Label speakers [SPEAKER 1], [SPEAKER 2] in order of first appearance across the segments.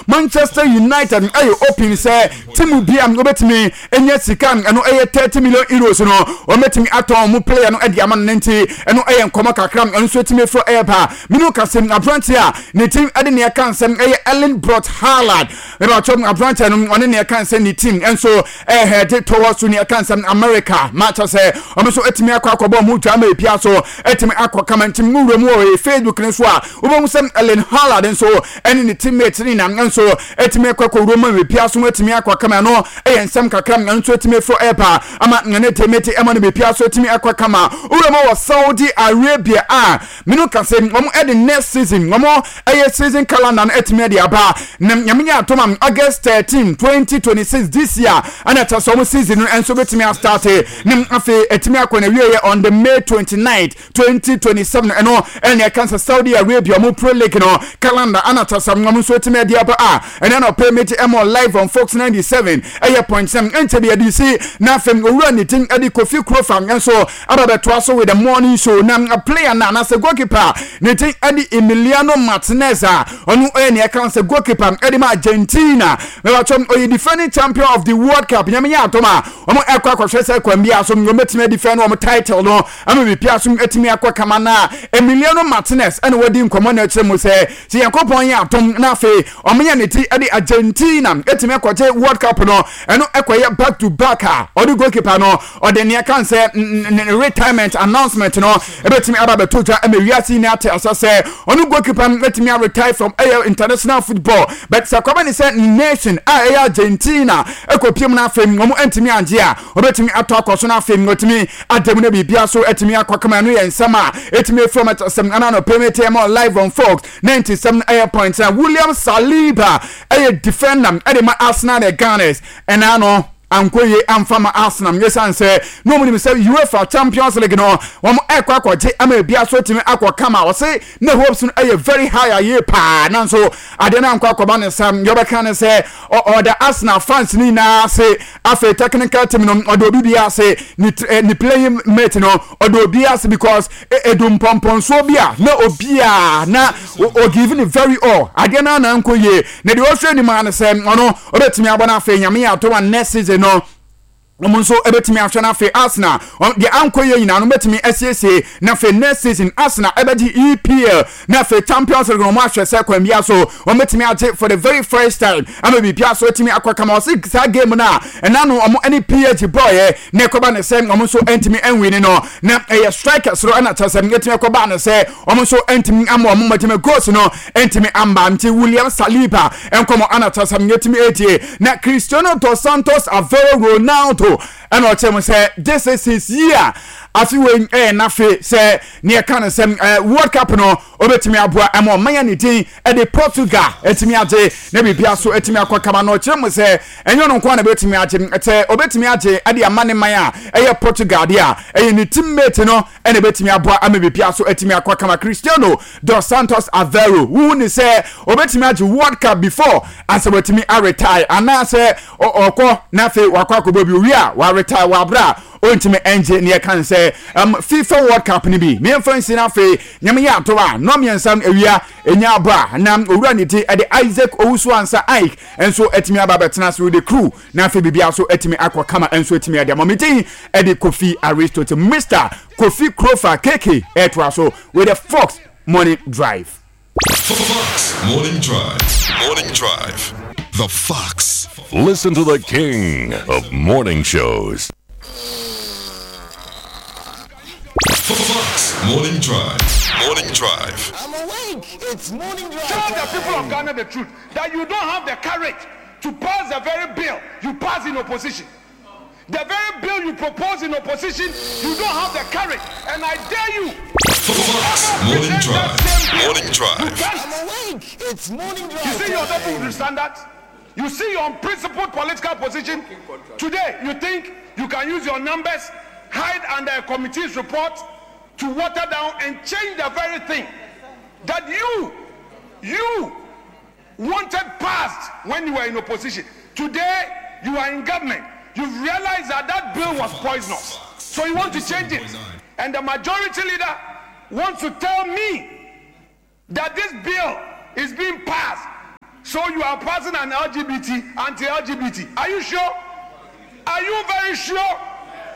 [SPEAKER 1] Manchester United ɛyɛ open sɛ team bi a wɔbɛtumi anya sika ɛno ɛyɛ 30 million euros no wɔbɛtumi atɔn wɔn player no ɛde ama no ne nti ɛno ɛyɛ nkɔmɔ kakra ɛno nso ɛtumi efiri ɛɛba mene kase aberante a ne team ɛde ne ɛka nsɛm ɛyɛ Erling Brot Haaland ɛbɛtɔ aberante no ɔne ne ɛka nsɛm ne team ɛnso ɛhɛde towards to ne ɛka nsɛm America ma kyɛ sɛ wɔn nso ɛtumi akɔ akɔbɔ wɔn dwa ama epia so ɛtumi akɔ kama nti mu wura mu wɔ Facebook no so a wobɛhu sɛ Erling Haaland nso ɛne ne teammate ne nyinaa nso ɛtumi akɔ akɔwura mu bepia so ɛtumi akɔ kama no ɛyɛ nsɛm kakra nso ɛtumi afiri ɛba ama ne teammate ɛma no bepia so ɛtumi akɔ kama wura mu wɔ Saudi Arabia a mene ka sɛ wɔn ɛde next season wɔn ɛyɛ season calendar no ɛtumi ɛde aba na nyame nyɛ atom a August 13 2026 this year ɛna ɛkyɛ sɛ wɔn season no nso bɛtumi astarte ne afei ɛtumi akɔ na wieɛ on the May 29 2027 ɛno ɛne ɛka sɛ Saudi Arabia ɔmo Pro League no calendar ana kyɛ sɛ ɔmo nso ɛtumi ɛde aba a ɛne na ɔpɛ meti ɛmɔ live on Fox 97 ɛyɛ point sɛm ɛnkyɛ bi ɛde si na afei owura ne din ɛde Kofi Krofa nso aba bɛtoa so with the morning show na player na anaasɛ goalkeeper ne din ɛde Emiliano Martinez a ɔno ɛyɛ nea ɛka sɛ goalkeeper ɛde ma Argentina mɛbatwɛm ɔyɛ defending champion of the World Cup nyame yɛ adom a wɔn ɛkɔ akɔhwɛ sɛ kwan bi a so wɔn bɛtumi adefend wɔn title no ama biribi aso atumi akɔ kama na Emiliano Martinez ɛna wadi nkɔmmɔ na ɛkyerɛ mu sɛ sɛ Nyankopɔn yɛ adom na afei wɔn yɛ ne ti ɛde Argentina ɛtumi akɔgye World Cup no ɛno ɛkɔyɛ back to back a ɔde goalkeeper no ɔde nea kan sɛ ne retirement announcement no ɛbɛtumi aba bɛto dwa ɛma wiase nyinaa ate asa sɛ ɔno goalkeeper no ɛtumi aretire from ɛyɛ international football but sɛ kɔba ne sɛ nation a ɛyɛ Argentina ɛkɔpiem no afei wɔn ɛntumi angye a ɔbɛtumi atɔ akɔ so no afei ɔtumi ada mu no biribia so ɛtumi akɔ kama ɛno yɛ nsɛm a ɛtumi afiri ɔmo sɛm ana no pɛmɛ tɛm live on Fox 97 ɛyɛ point na William Saliba ɛyɛ defender ɛde ma Arsenal the Gunners ɛna no ankɔ yie amfa ma Arsenal ɛsiane sɛ na wɔn nim sɛ UEFA Champions League no wɔn ɛkɔ akɔgye ama ebi aso tumi akɔ kama ɔse ne hopes no ɛyɛ very high ayie paa nanso adeɛ no ankɔ akɔba ne nsa yɛbɛka ne sɛ ɔda Arsenal fans no nyinaa ase afei technical team no ɔde obi bi ase ne ne playing mate no ɔde obi ase because edu mpɔmpɔnsoɔ bi a na obiara na o give ne very all adeɛ no ana nkɔ yie na deɛ ɔhwɛ anim ara ne sɛ ɔno ɔbɛtumi abɔ no afei nyame yɛ ato a next season no wɔn nso bɛtumi ahwɛ no afei Arsenal deɛ ankɔ yie nyinaa no bɛtumi asiesie na afei next season Arsenal ɛbɛgye EPL na afei Champions League no wɔn ahwɛ sɛ kwan bia so wɔn bɛtumi agye for the very first time ama biribia so atumi akɔ kama ɔse saa game no a ɛna no wɔn ne PSG bɔɔyɛ na ɛkɔba ne sɛ wɔn nso ntumi nwini no na ɛyɛ strikers no ɛna kyerɛ sɛ ɛtumi ɛkɔba ne sɛ wɔn nso ntumi ama wɔn mmɔgyema goals no ntumi amba nti William Saliba nkɔmɔ ana kyerɛ sɛ yɛtumi etie na Cristiano dos Santos Aveiro Ronaldo ɛna ɔkyerɛ mu sɛ this is his year afi wei ɛyɛ n'afe sɛ ne ɛka no sɛ ɛɛ World Cup no obetumi aboa ɛma ɔman yɛ ne din ɛde Portugal ɛtumi agye na biribi aso ɛtumi akɔ kama na ɔkyerɛ mu sɛ ɛnyɛ ɔno nko na obetumi agye sɛ obetumi agye ɛde ama ne man a ɛyɛ Portugal deɛ a ɛyɛ ne teammate no ɛna ebetumi aboa ama biribi aso ɛtumi akɔ kama Cristiano dos Santos Aveiro wohu ne sɛ obetumi agye World Cup before ansa watumi aretire anaasɛ ɔkɔ na afei wakɔ akɔbɔ bi owie a waretire wɔ abere a ɔntumi ɛngye ne yɛka ne sɛ FIFA World Cup no bi mmiɛnfa nsi no afei nyame yɛ ato a nnɔ mmiɛnsa awia ɛnya abɔ a na owura ne ti ɛde Isaac Owusu Ansa Ike nso atumi aba abɛtena ase with the crew na afei biribiara nso atumi akɔ kama nso atumi ade ama me din ɛde Kofi Aristotle Mr Kofi Krofa KK ɛtoa so with the Fox Morning Drive.
[SPEAKER 2] Fox Morning Drive. Morning Drive. The Fox.
[SPEAKER 3] Listen to the king of morning shows.
[SPEAKER 2] Fox Morning Drive. Morning Drive.
[SPEAKER 4] I'm awake. It's morning drive.
[SPEAKER 5] Tell the people of Ghana the truth that you don't have the courage to pass the very bill you pass in opposition. The very bill you propose in opposition, you don't have the courage. And I dare you.
[SPEAKER 2] Fox Morning Drive. Morning Drive.
[SPEAKER 5] You can't.
[SPEAKER 4] I'm awake. It's morning drive.
[SPEAKER 5] You see your double standards? You see your unprincipled political position? Today, you think you can use your numbers, hide under a committee's report to water down and change the very thing that you, you wanted passed when you were in opposition. Today, you are in government. You've realized that that bill was poisonous. So you want to change it. And the majority leader wants to tell me that this bill is being passed. So you are passing an LGBT, anti-LGBT. Are you sure? Are you very sure?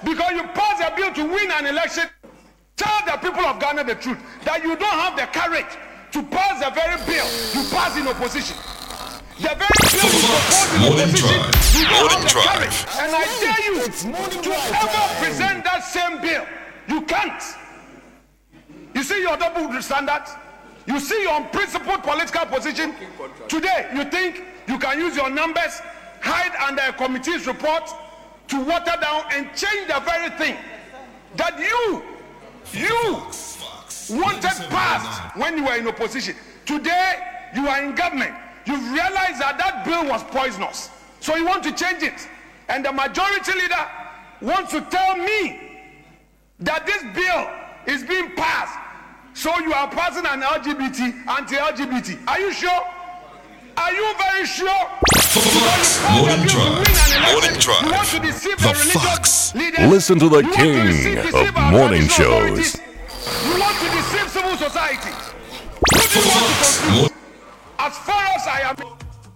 [SPEAKER 5] Because you passed a bill to win an election. Tell the people of Ghana the truth that you don't have the courage to pass the very bill you pass in opposition. The very bill you propose in
[SPEAKER 2] Morning
[SPEAKER 5] opposition,
[SPEAKER 2] Drive.
[SPEAKER 5] you don't
[SPEAKER 2] Morning
[SPEAKER 5] have the
[SPEAKER 2] Drive.
[SPEAKER 5] courage. And I dare you to ever present that same bill. You can't. You see your double standard? You see your unprincipled political position? Today, you think you can use your numbers, hide under a committee's report to water down and change the very thing that you, you wanted passed when you were in opposition. Today, you are in government. You've realized that that bill was poisonous. So you want to change it. And the majority leader wants to tell me that this bill is being passed. So you are passing an LGBT, anti-LGBT. Are you sure? Are you very sure?
[SPEAKER 2] Morning Drive. Morning
[SPEAKER 5] You
[SPEAKER 2] Drive.
[SPEAKER 5] want to deceive
[SPEAKER 2] The
[SPEAKER 5] the, religious
[SPEAKER 2] Fox.
[SPEAKER 5] leaders.
[SPEAKER 3] Listen to the
[SPEAKER 5] You want to
[SPEAKER 3] king
[SPEAKER 5] deceive
[SPEAKER 3] of
[SPEAKER 5] our
[SPEAKER 3] morning
[SPEAKER 5] traditional
[SPEAKER 3] shows.
[SPEAKER 5] authorities. You want to deceive civil society. Who do you want to confuse? As far as I am.